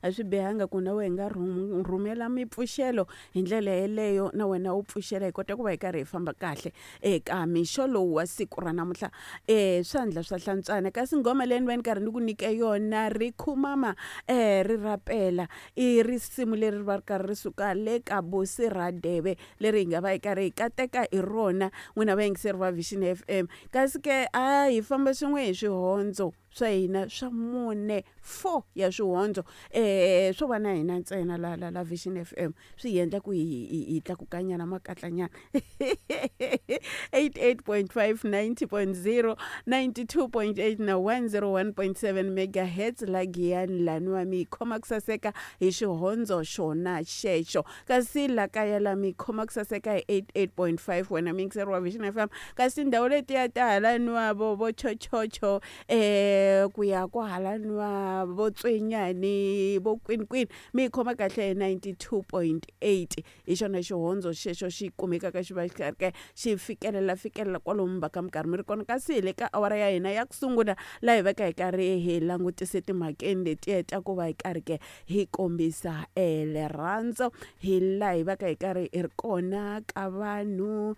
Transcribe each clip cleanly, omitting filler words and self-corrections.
A swi bihanga ku na wena hi nga rhumela mipfuxelo hi ndlela yeleyo, na wena u pfuxela hi kota ku va hi karhi hi famba kahle eka mixo lowu wa siku ra namuntlha. Swandla swa hlantswana, kasi nghoma leyi ni va ni karhi ni ku nyike yona ri khumama ri rapela, i risimu leri ri va ri karhi ri suka le ka Busi Radebe leri hi nga va hi karhi hi kateka hi rona n'wina vayingiseri va Vision FM. Kasi ke a hi famba swin'we hi swihondzo swa hina swa mune, four ya swihondzo swo va na hina ntsena la la la Vision FM, swi hi endla ku hi tlakukanyana makatlanyana. 88.5, 90.0, 92.8 na 101.7 megahertz la Giyani laniwa mi yi khoma ku saseka hi xihondzo xona xexo. Kasi la kaya la mi yi khoma ku saseka hi 88.5 wena muyingiseri wa Vision FM. Kasi tindhawu letiya ta halaniwa vo chochocho ku ya kwahalaniwa vo Tswenyani vo kwinikwini mi yi khoma kahle hi 92.8. Hi xona xihondzo xexo xi kumekaka xi va xi karhi xi fikelela fikelela kwalomu va ka mi karhi mi ri kona. Kasi hi le ka awara ya hina ya ku sungula laha hi vaka hi karhi hi langutise timhakeni letiya ta ku va hi karhi ke hi kombisa rirhandzu, hi laha hi vaka hi karhi hi ri kona ka vanhu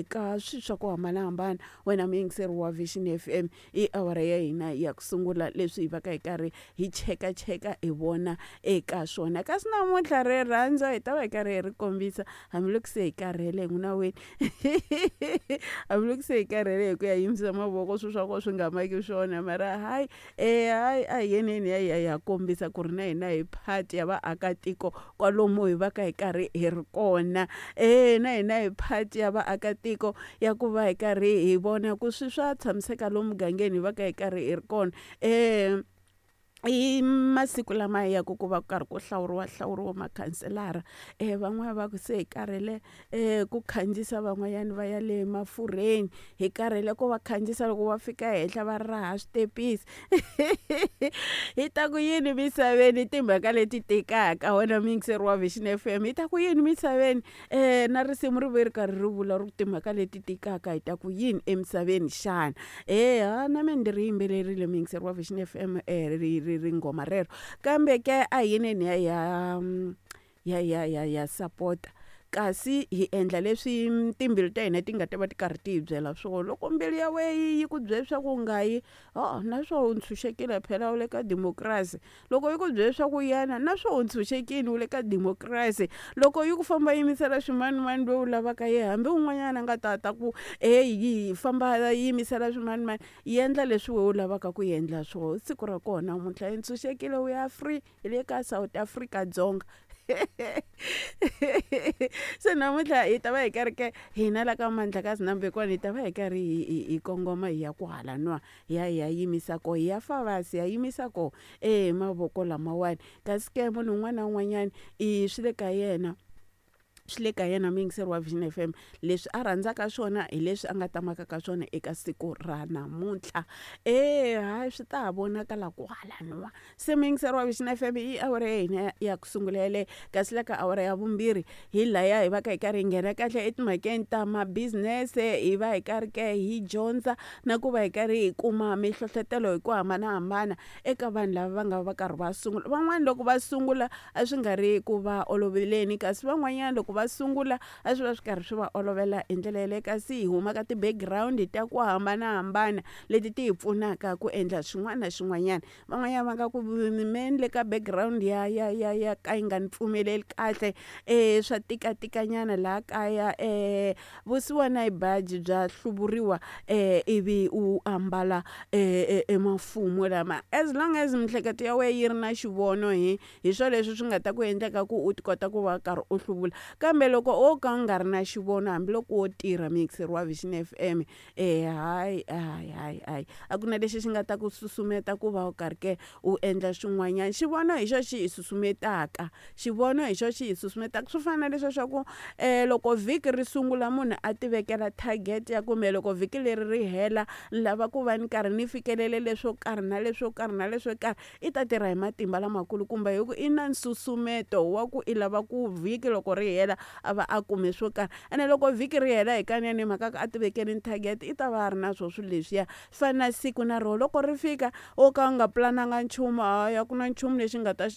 ka swilo swa ku hambanahambana. Wena muyingiseri wa Vision FM, i awara ya hina ya ku sungula leswi hi vaka hi karhi hi chekacheka hi vona eka swona. Kasi namuntlha rirhandzu hi ta va hi karhi hi ri kombisa hambiloko se hi karhele n'wina wena, hambiloko se hi karhele hi ku ya yimisa mavoko swilo swa kona swi nga maki swona, mara hayi hayi a hi yeneni hi ya hi ya kombisa ku ri na hina hi part ya vaakatiko kwalomu hi vaka hi karhi hi ri kona. Na hina hi part ya vaakatiko ya ku va hi karhi hi vona ku swi swa tshamiseka lomu mugangeni hi vaka hi karhi hi ri kona. I masiku lama ya ku va ku karhi ku hlawuriwa hlawuriwa makhanselara, van'wani va ku se hi karhele ku khandziyisa van'wanyana va ya le mafurheni, hi karhele ku va khandziyisa loko va fika henhla va raha switepisi. Hi ta ku yini misaveni timhaka leti tikaka wena muyingiseri wa Vision FM, hi ta ku yini misaveni na risimu ri ve ri karhi ri vula ri ku timhaka leti tikaka hi ta ku yini emisaveni xana? Ha na mina ndzi ri yimbelerile muyingiseri wa Vision FM ri nghoma rero. Kambe ke a hi yeneni hi ya ya ya ya ya sapota, kasi hi endla leswi timbilu ta hina ti nga ta va ti karhi ti hi byela swona. Loko mbilu ya wena yi ku byela leswaku u nga yi, na swona u ntshunxekile phela u le ka democracy. Loko yi ku byela leswaku yana, na swona u ntshunxekile u le ka democracy. Loko yi ku famba yimisela swimanimani loyi u lavaka yena, hambi un'wanyana a nga ta ta ku heyi famba yimisela swimanimani, endla leswi wena u lavaka ku endla swona. Siku ra kona namuntlha hi ntshunxekile, we are free, hi le ka South Africa Dzonga. Se namuntlha hi ta va hi karhi ke hina la ka Mandlakazi na Mbekwana hi ta va hi karhi hi kongoma hi ya kwahalaniwa, hi ya hi ya yimisa koho, hi ya Favasi hi ya yimisa koho mavoko lamawani. Kasi ke munhu un'wana na un'wanyana i swi le ka yena, swi le ka yena muyingiseri wa Vision FM, leswi a rhandzaka swona hi leswi a nga ta maka ka swona eka siku ra namuntlha. Hayi swi ta ha vonakala kwahalaniwa. Se muyingiseri wa Vision FM, i awara ya hina ya ku sungula yeleyo. Kasi la ka awara ya vumbirhi hi laya hi va ka hi karhi hi nghena kahle etimhakeni ta ma-business, hi va hi karhi ke hi dyondza na ku va hi karhi hi kuma mihlohlotelo hi ku hambanahambana eka vanhu lava va nga va karhi va sungula. Van'wani loko va sungula a swi nga ri ku va oloveleni, kasi van'wanyana loko va sungula a swi va swi karhi swi va olovela hi ndlela yeleyo. Kasi hi huma ka ti-background ta ku hambanahambana leti ti hi pfunaka ku endla swin'wana na swin'wanyana. Van'wanyana va nga ku me ni le ka background ya ya ya ya ka yi nga ni pfumeleli kahle, swa tikatikanyana laha kaya, vusiwana hi baji bya hluvuriwa ivi u ambala emafumu lama. As long as miehleketo ya wena yi ri na xivono hi swona leswi swi nga ta ku endleka ku u ti kota ku va karhi u hluvula. Kambe loko o ka u nga ri na xivono hambiloko wo tirha muyingiseri wa Vision FM, hayi hayi hayi hayi a ku na lexi xi nga ta ku susumeta ku va u karhi ke u endla swin'wanyana. Xivono hi xona xi hi susumetaka, xivono hi xona xi hi susumetaka. Swi fana na leswiya swa ku loko vhiki ri sungula munhu a tivekela target ya kumbe loko vhiki leri ri hela ni lava ku va ni karhi ni fikelele leswo karhi na leswo karhi na leswo karhi, i ta tirha hi matimba lamakulu kumbe hi ku i na nsusumeto wa ku i lava ku vhiki loko ri hela a va a kume swo karhi. Ene loko vhiki ri hela hikanene mhaka ku a tivekele target i ta va a ri na swona swilo leswiya. Swi fana na siku na rona loko ri fika wo ka u nga pulananga nchumu, hayi a ku na nchumu lexi nga ta xi.